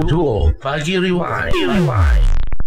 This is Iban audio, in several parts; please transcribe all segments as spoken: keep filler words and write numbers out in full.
Dua Pagi Rewind.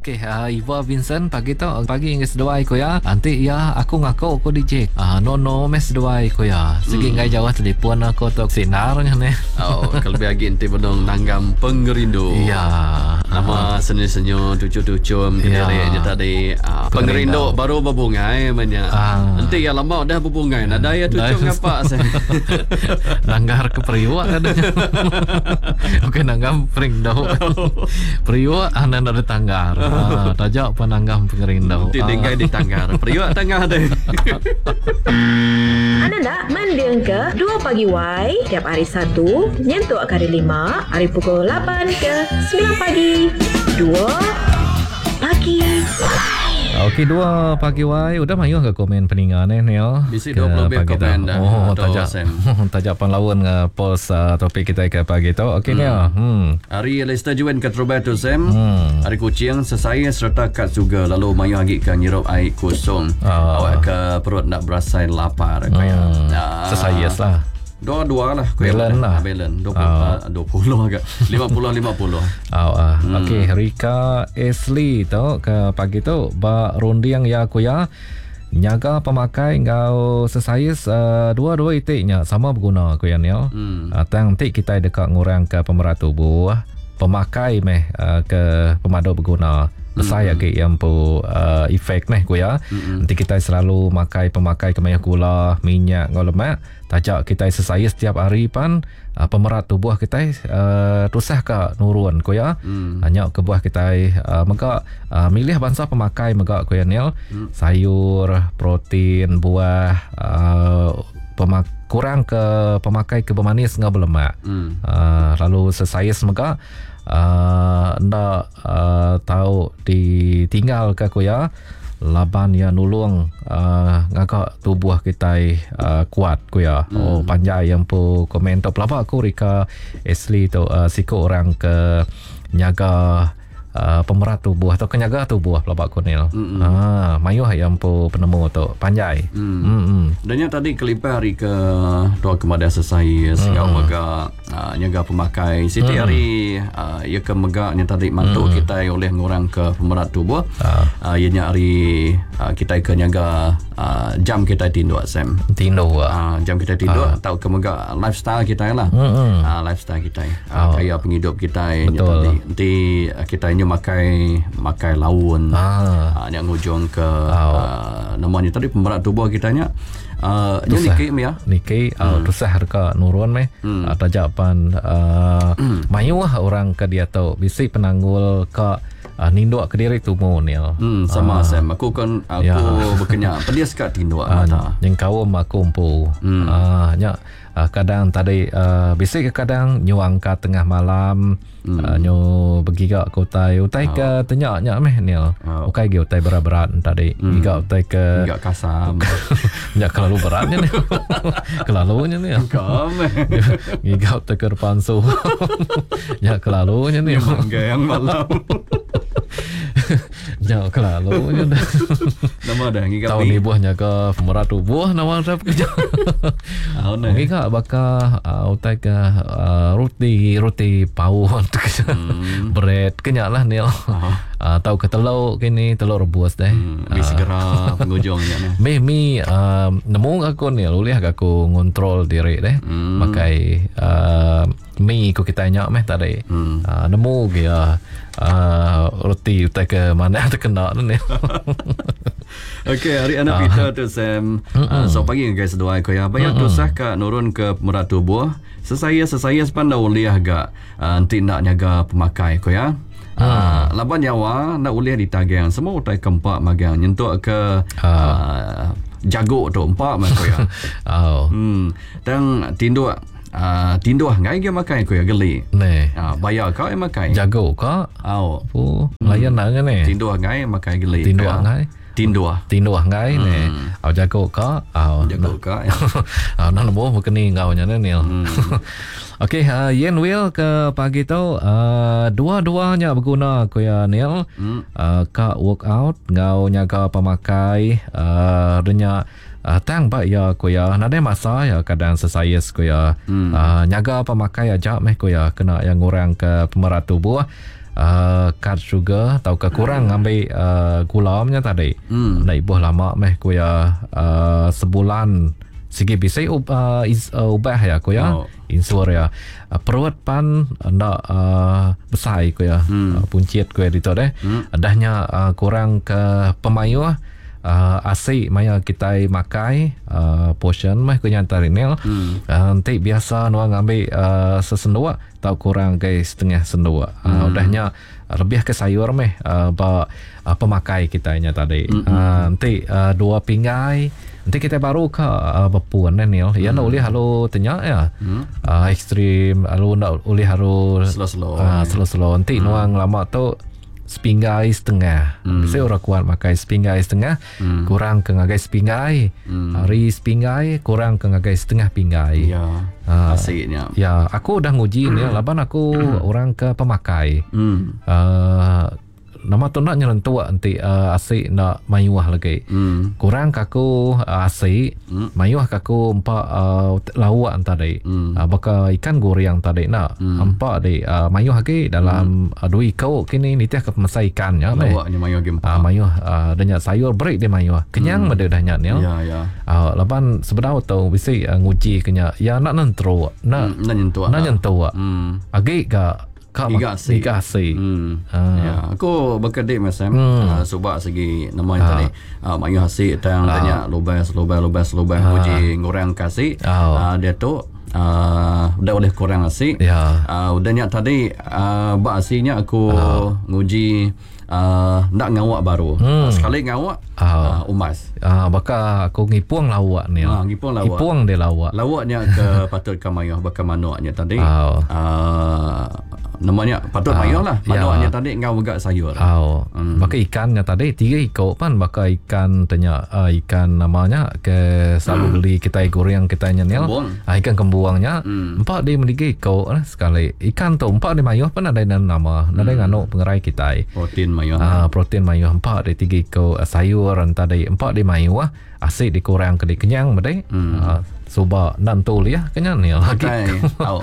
Okey, uh, Iva Vincent pagi tu pagi hingga seduai ko ya. Nanti ya aku ngaku ko D J. Ah uh, no no mes seduai ko ya. Segi hmm. ngai jauh telefon aku tu sinarnya ni. Oh, kalau lebih agi enti benung nanggam pengerindu. Ya. Nama senyum-senyum tucu-tucum ya. Kediri je tadi. Uh, pengerindu baru berbungai banyak. Ah. Nanti ya lama dah berbungai. Nada ya tucum ngapa saya. Nanggar ke periuk adanya. Okey nanggam perindu. Periuk anan ada tanggar. Ah, tajak penanggam pengerindu. Nanti tinggal di tanggar. Periuk tanggar ada. Anda nak mending ke dua pagi Y tiap hari Satu, nyentuk hari Lima, hari pukul lapan ke sembilan pagi. Dua pagi. Okey, dua pagi Y udah mayuh ke komen peningan eh Neil. Bisi dua puluh lebih komen dah. Oh, tajak. Tajak panlawan ke post uh, topik kita ke pagi tu. Okey hmm. Neil. Hmm. Hari Lester Juan ke Roberto Sam. Hmm. Hari kucing sesaya serta kat juga lalu mayuh agi ke nyirup air kosong. Ah. Awak ke perut nak berasai lapar kaya. Hmm. Ah. Sesaya lah. Dua-dua lah. Balance lah. Balance. Dua puluh, uh. dua puluh agak. Lima puluh, lima puluh. Oh, uh. Hmm. Okey, Rika Ashley tu ke pagi tu ba runding ya aku ya. Nyaga pemakai ngau sesais uh, dua-dua itiknya sama berguna aku ya Neil. Hmm. Uh, tang nanti kita dekat ngurang ke pemerat tubuh. Pemakai meh uh, ke pemaduk berguna. Besar hmm. lagi yang pu uh, efek neh ku ya. Hmm. Nanti kita selalu makai pemakai kemayah gula, minyak ngau lemak, tajak kita sesaya setiap hari pan uh, pemerat tubuh kita uh, tusah ka nurun ku ya. Hmm. Hanya kebuah kita uh, mega uh, milih bangsa pemakai mega ku ya Neil. Hmm. Sayur, protein, buah, uh, pemak kurang ke pemakai ke bermanis ngau berlemak. Hmm. Uh, lalu sesaya mega Uh, ndak uh, tahu ditinggal ke aku ya laban ya nulung uh, ngagak tubuh kita uh, kuat ku ya. Hmm. Oh panjai yang pu komen tu pelaba aku Rika Ashley tu uh, siku orang ke nyaga uh, pemerat tubuh atau kenyaga tubuh pelaba aku Neil. Hmm. Ah mayuh yang pu penemu tu panjai. Hmm. Hmm. Dan yang tadi kelipah hari ke dua kepada selesai sehingga Hmm. mega uh, nyaga pemakai siti Hmm. hari uh, ia ke mega yang tadi mantu Hmm. kita oleh ngurang ke pemerat tubuh. Ah. Uh, ianya hari uh, kita ke nyaga uh, jam kita tidur Sam. Tidur. Uh, jam kita tidur uh. atau ke mega lifestyle kita lah. Hmm. Uh, lifestyle kita. Uh, Oh. Kaya penghidup kita yang Betul. tadi. Nanti uh, kita ini makai makai laun. Ah. Uh, yang ngujung ke Oh. uh, namanya tadi pemerat tubuh kita nya. Uh, nya Tusah. niki ya. Niki hmm. uh, tusah reka nurun meh. Hmm. Uh, tajak pan uh, Hmm. mayuh orang ke dia tu bisi penanggul ke uh, ninduk ke diri tumu Neil. Hmm, sama uh. Sam. Aku kan aku Ya. berkenyak pedis kat tinduk Uh, mata. nyengkaum aku empu. Hmm. Uh, nya uh, kadang tadi uh, bisi ke kadang nyu angkat tengah malam Hmm. uh, nyu bergiga ke utai utai Oh. ke tenyak nya meh Neil. Oh. Ukai gi utai berat-berat tadi. Hmm. Giga utai ke Enggak kasam. nya kelalu beratnya ni. Kelalunya ni. Kam. Giga utai ke depan su. Nya kelalunya ni. Mangga yang malam. Nya kelalunya dah. Nama dah ngiga Tahun pi. ni buahnya ke pemerat tubuh nama saya kerja. Tahun ni. Ngiga baka uh, utai ke uh, roti roti paun Hmm. bread kenyak lah ni. Uh, tahu ke telur kini telur rebus deh. Hmm, mi segera penghujungnya ni. Mi mi uh, nemu aku ni ulih aku ngontrol diri deh. Hmm. Makai uh, mi ku kita nyak meh tadi. Hmm. Uh, nemu ge uh, uh, roti utai ke mana terkena tu ni. Okey, hari anak Peter tu Sam. Uh, so pagi guys seduai ko ya. Bayar tusah ka nurun ke pemerat tubuh. Sesaya sesaya sepanda uliah ga uh, nanti nak nyaga pemakai ko ya. Uh, laban nyawa nak uliah ditagang semua utai kempak magang nyentuk ke uh, jago tu empak mah ko ya. Oh. Hmm, tang tinduk uh, tinduh ngai ge makai ko ya geli. Ni. Uh, bayar kau yang makai. Jago ka? Au. Pu, layan nak ni. Tinduh ngai makai geli. Tinduh Ko ya. ngai. Tinduh. Tinduh ngai ni. Au jago ka? Au. Jago ka. Ya. Ah, nak nemu berkeni ngau nya ni. Hmm. Okey, uh, Yen Will ke pagi tu uh, dua-duanya berguna ku ya Neil. Hmm. Uh, ka workout ngau nyaga pemakai uh, denya Uh, tang ba ya ku ya nadai masa ya kadang sesayas ku ya. Hmm. Uh, nyaga pemakai aja meh ku ya kena yang ngurang ke pemerat tubuh. Uh, cut sugar atau ke kurang ngambil uh, gula nya tadi. Hmm. Nak ibuh lama meh ku ya uh, sebulan segi bisa uh, is, uh, ubah ya ku ya. Oh. Insur ya. Uh, perut pan ndak uh, besar ku ya. Hmm. Uh, puncit ku ya ditu deh. Hmm. Dahnya uh, kurang ke pemayuh Uh, asik maya kita makai uh, portion meh ku nyantar ini. Hmm. Uh, nanti biasa nuang ambil uh, sesenduk atau kurang ke setengah senduk. Uh, hmm. Udahnya lebih ke sayur meh uh, ba uh, pemakai kita nya tadi. Hmm. Uh, nanti uh, dua pinggai nanti kita baru ke uh, berpuan eh, Neil. Ya nak boleh halu tanya ya. Hmm. Uh, ekstrim halu nak boleh halu slow-slow. Uh, slow-slow. Nanti hmm. nuang lama tu sepinggai setengah. Hmm. Saya orang kuat makai sepinggai setengah, hmm. kurang ke ngagai sepinggai. Hmm. Hari sepinggai kurang ke ngagai setengah pinggai. Ya. Uh, asiknya. Ya, aku dah nguji ni laban aku orang ke pemakai. Hmm. Uh, nama tu nak nyelentuk nanti uh, asik nak mayuah lagi. Hmm. Kurang kaku uh, asik, hmm. mayuah kaku empat uh, lauk tadi. Hmm. Uh, baka ikan goreng tadi nak. Hmm. Empat di uh, mayuh lagi dalam hmm. uh, dua ikau kini nitih ke pemasai ikannya. Lawaknya mayuh lagi empat. Uh, mayuh uh, danyak sayur break dia mayuh. Kenyang hmm. dah nyak ni. Ya ya. Uh, laban sebenar tu bisi uh, nguji kenya. Ya nak nentruk, nak hmm. nak nyentuh. Nak nyentuh. Hmm. Agi ga Iga asi. Iga asi. Hmm. Ah. Ya, aku bekedip macam hmm. uh, subak segi nama yang Ah. tadi. Uh, mayuh asi tang Ah. tanya lubas lubas lubas lubas Ah. uji ngurang kasih. Oh. Uh, dia tu uh, udah boleh kurang asi. Ya. Uh, udah nyak tadi uh, bak asinya aku Ah. nguji uh, nak ngawak baru. Hmm. Uh, sekali ngawak Ah. uh, umas. Ah, baka aku ngipung lawak ni. Ah, ngipung lawak. Ngipung dia lawak. Lawaknya ke patut ke mayuh bakal manuknya tadi. Oh. Uh, namanya patut Ah, mayuh lah. ya. Manuknya tadi ngau megak sayur. Oh, Hmm. baka ikannya tadi tiga ikut pan baka ikan tanya uh, ikan namanya ke selalu hmm. beli kita goreng kita nyenil. Kembuang. Ah, ikan kembuangnya Hmm. empat dia memiliki ikut lah sekali. Ikan tu empat dia mayuh pun ada nama. Ada hmm. nganu pengerai kita. Protein mayuh. Ah, protein mayuh empat dia tiga ikut uh, sayur tadi empat dia mayuh ah. Asyik dikurang ke kenyang bedai. Hmm. Ah, suba nantu liah kenyang ni lagi. Kai. Tau.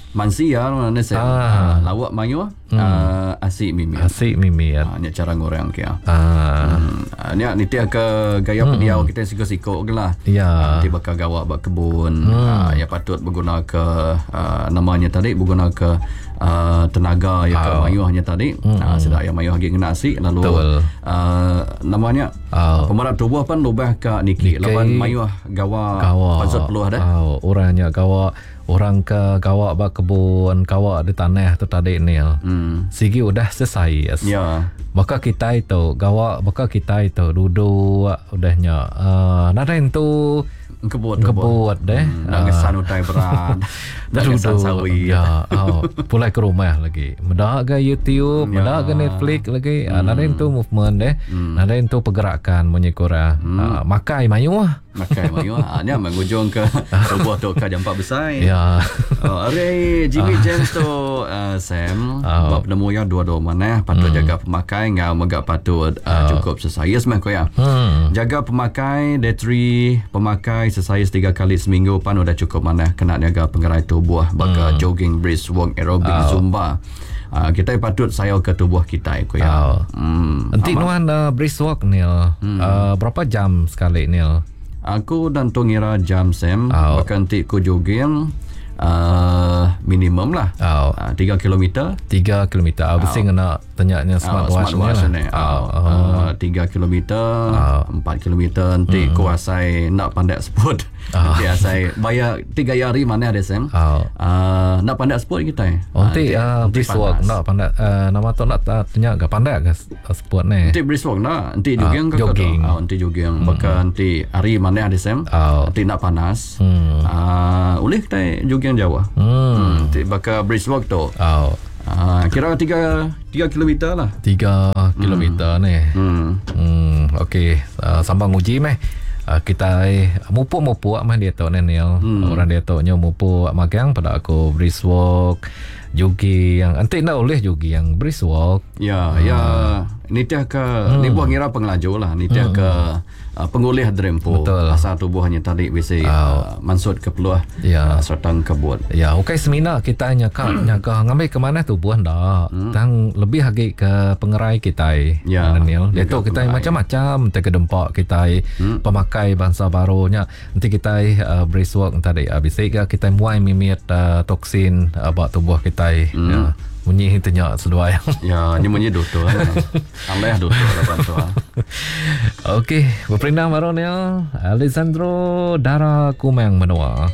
Mansi ya mana saya. Ah. Ah. Lawak mayuh hmm. uh, asyik mimi. Asyik mimi ya. Ah, ni cara ngorang kia. Ah. Hmm. Ah, ni ni tiap ke gaya hmm. pendiau kita siko-siko ke lah. Ya. Nanti bakal gawak bak kebun. Hmm. Ah, ya patut berguna ke uh, namanya tadi berguna ke uh, tenaga ya ke Ah. mayuhnya tadi. Hmm. Ah, sedak yang mayuh lagi kena asik lalu Betul. uh, namanya Ah. pemerat tubuh pun lubah ke niki Niki. lawan mayuh gawa Gawa. pansut peluh dah. Oh, orangnya gawa orang ke gawa bak kebun, gawa di tanah tu tadi ni. Hmm. Sigi udah selesai. Ya. Maka kita itu gawa, maka kita itu duduk udahnya. Uh, nadai tu Kebut kebut deh. Hmm, nak ngesan utai berat. Nak ngesan sawi. Ya, oh, pulai ke rumah lagi. Medak ke YouTube, Ya. medak ke Netflix lagi. Hmm. Nadai tu movement deh. Hmm. Nadai tu pergerakan munyi korang. Hmm. Uh, makai mayuh. Makai mayuh. Ah, ni mengujung ke tubuh tu ke jampak besar. Ya. Oh, hari Jimmy James tu uh, Sam Oh. bab penemu yang dua-dua mana patut hmm. jaga pemakai ngau megak patut uh, cukup sesayas mah kau ya. Hmm. Jaga pemakai dietary pemakai sesayas tiga kali seminggu pan udah cukup mana kena jaga pengerai tubuh baka Hmm. jogging, brisk walk, aerobic, Oh. zumba. Uh, kita patut sayau ke tubuh kita kau ya. Oh. Hmm. Nanti Amat. nuan uh, brisk walk Neil. Hmm. Uh, berapa jam sekali Neil? Aku dan tu ngira jam Sam Oh. bahkan ti ku jogging uh, minimum lah. Oh. Uh, tiga kilometer. Tiga kilometer. Oh. Mesti kena tanyanya Ah, smartwatch smartwatch ni ni. lah. Ah, Oh. ah, tiga kilometer, empat kilometer nanti hmm. ku asai nak pandai sport. Ah. Nanti asai bayar tiga hari mana ada Sam. Oh. Ah, nak pandai sport kita. Oh, nanti uh, brisk walk panas. nak pandai uh, nama tu nak uh, tanya ke pandai ke sport ni? Nanti brisk walk nak, nanti jogging Ah, ke jogging. Ah, nanti jogging. Hmm. Bahkan nanti hari mana ada Sam. Oh. Nanti nak panas. Hmm. Ah, boleh kita jogging jauh. Hmm. Hmm. Nanti bakal brisk walk tu. Oh. Ah, kira tiga tiga kilometer lah. Tiga kilometer ni. Hmm. Hmm, okey. Uh, sambang uji meh. Uh, kita eh, mupuk-mupuk meh dia tu ni Neil. Hmm. Orang dia tu nyo mupuk magang pada aku brisk walk, Jogging yang enti nak oleh jogging brisk walk. Ya, hmm. ya nitih ke hmm. ni buah ngira pengelaju lah, nitih hmm. ke uh, pengulih drempo. Asal tubuhnya tadi bisa oh. uh, mansut ke peluah ya. uh, serta kebut. Ya, okey semina kita nyaka nyaka ngambil ke mana tubuh ndak. Hmm. Tang lebih lagi ke pengerai kita. Ya. Daniel. Itu kita macam-macam te kedempak kita hmm. pemakai bangsa barunya. Nanti kita uh, brisk walk tadi uh, bisa ke kita muai mimit uh, toksin uh, bak tubuh kita. Hmm. Ya. Munyi tanya seduai. Ya, ni munyi doktor. Aleh doktor lah bantu. Okey, berperindang baru ni Alessandro Dara Kumang Menua.